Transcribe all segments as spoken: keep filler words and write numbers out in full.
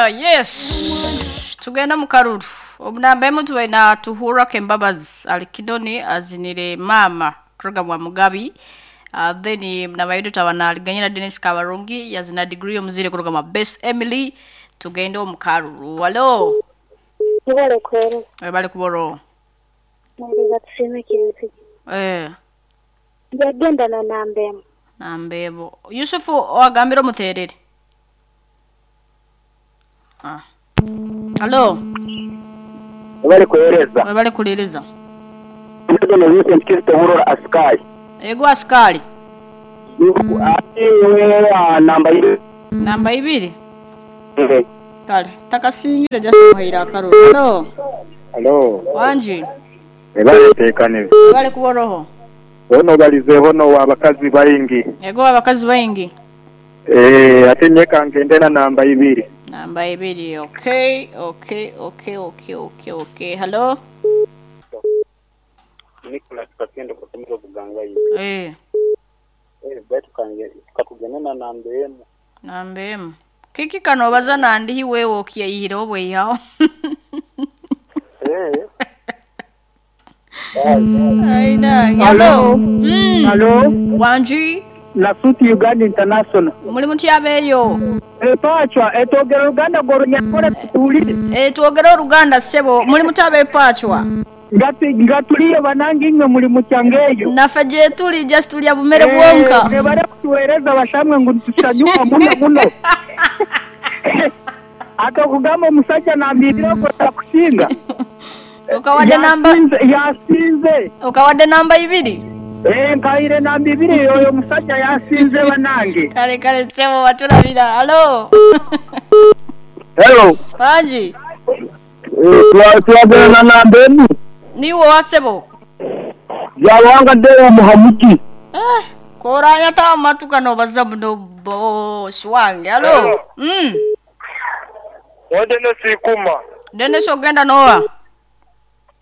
Yes, tugenda mu karuru. Omunamba emu tubaina Tuhura Kembabazi alikidoni azinire mama kuruga wa Mugabi. Uh, then nabayidu tabana aliganyira Dennis Kabarungi yazina degree omuzire kuruga ma Best Emily. Tugenda omu karuru. Hello. Ibale kwere. Ebale kuboro. Naliza tusime kinsi. Eh. Yagenda na nambemo. Nambebo. Yusufu wagambira omuterere. Ah. Hello. Ebale kuhereza. Ebale kuliriza. Ndono Vincent Kristo Murora askari. Ego askari. Ati namba ibiri. Namba ibiri. Eh. Kale, takasingire just muhaira akaruru. Hello. Hello. Wanji. Ebale tekane. Ebale kuboroho. Ono balize hono abakazi baingi. Ego abakazi baingi. Eh, ate nyeka ngendena namba ibiri. Namba ibiri. Okay, okay, okay, okay, okay, okay. Hello. Nicholas Kakendo kutumira buganga yi. Eh. Eh, betu kange katugena namba emu. Namba emu. Kiki kano baza nandi hiwe okiyihira obwe yawo. Eh. Aida, hello. Mm. Hello. Wanji. Nasuti Uganda International. Muri mutyabeyo. Eh, pachwa etogera Uganda gorunyakore tutuli. Eh, twogera Uganda sebo muri mutabe pachwa. Ngati ngatuliye banangi imwe muri mucyangeyo. Nafe je tuli just tulya bumere bwonka. Eh, bare kutuwereza bashamwe ngo tusanyuka muno muno. Akakugamba omusajja nambirira ko takushinga. Okawadde namba yasinze. Okawadde namba ibiri. Eh, nkaire namba ibiri oyo musajja yasinze banange. Kale kale sebo batulabira. Hello. Hello. Wanji. Eh, twagana namba emu. Niwo wasebo. Yawanga de Muhamuki. Eh, koranya ta matuka no baza muno boss wange. Hello. Mm. Wende sikuma. Dene ogenda nowa.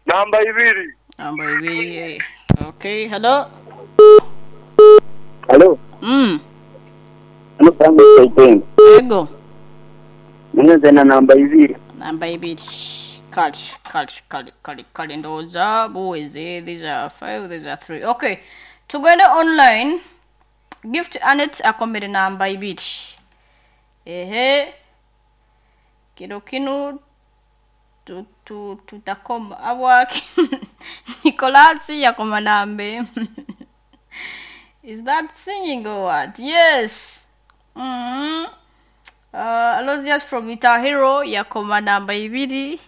Namba ibiri. Namba ibiri. Okay, hello. Hello. Mm. Ano pangu saiten. Ego. Ngenze na namba ibiri. Namba ibiri. Kali, kali, kali, kali, kali ndoza buweze. These are five, these are three. Okay. Tugende online. Gift Anet akomere namba ibiri. Ehe. Kino kinu tu tu tutakoma awaki. Nicolasi yakoma nambe. Is that singing or what? Yes. Mm-hmm. Uh, Aloysius from Itahiro yakoma namba ibiri.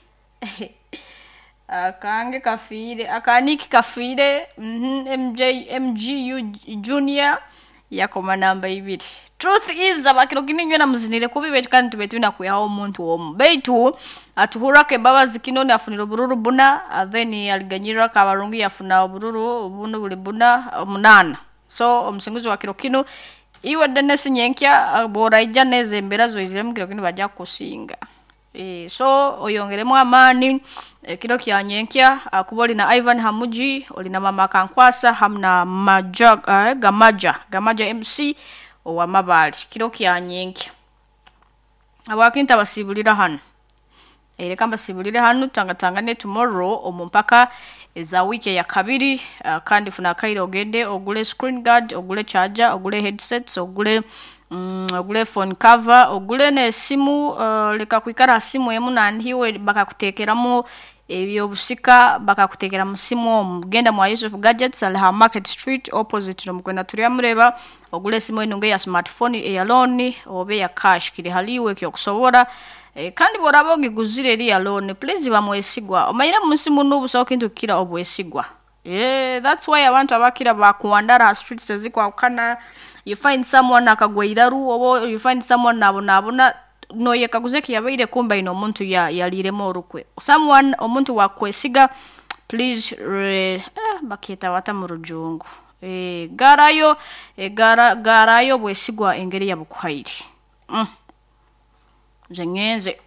Akange kafire, akaniki kafire. Mm-hmm. M J M G U Junior yakoma namba ibiri. Truth is abakiro kini na muzinire kubi betu kandi tubetu na kuyaho omuntu omu. Beitu atuhura Kembabazi kinoni afunira obururu buna, then aliganyira Kabarungi yafuna obururu buno buli buna munana. So omusinguzi wa kiro kino iwe Dennis Nyenkya bora ija neze embera zoiziremu kiro kino bajja kusinga. E, so oyongeremu amaani e, kiro kya Nyenkya kuba olina Ivan Hamuji, olina Mama Kankwasa hamna Maja uh, Gamaja Gamaja M C owa Mabali kiro kya Nyenkya. Abakinta basibulira hano. Ereka mbasibulire hano tangatangane tomorrow omumpaka eza wiki ya kabiri. Uh, kandi funa kairo ogende ogule screen guard, ogule charger, ogule headsets, ogule mm, ogule phone cover, ogule ne simu. Uh, leka kuikara simu emu nandiwe bakakutekeramo ebyo busika bakakutekera mu simu omu. Genda mwa Yusuf Gadgets alha Market Street opposite no mukwenda tulya mureba ogule simu eno ya smartphone eya loan obe ya cash kiri haliwe kyo kusobora. E, kandi boraba ogiguzire eri ya loan please bamwesigwa omanyira mu simu n'obusawo kintu kira obwesigwa. Yeah, that's why abantu abakira bakuwandara streets ezikwakana. You find someone akagwa iraru obo you find someone nabonabona no yekaguze kiyabaire kumba ino omuntu ya yaliremo orukwe. Someone omuntu wakwesiga please re, eh, baketa wata mu rujungu. Eh, garayo eh, gara garayo bwesigwa engeri ya bukuhairi. Mm. Nze ngenze.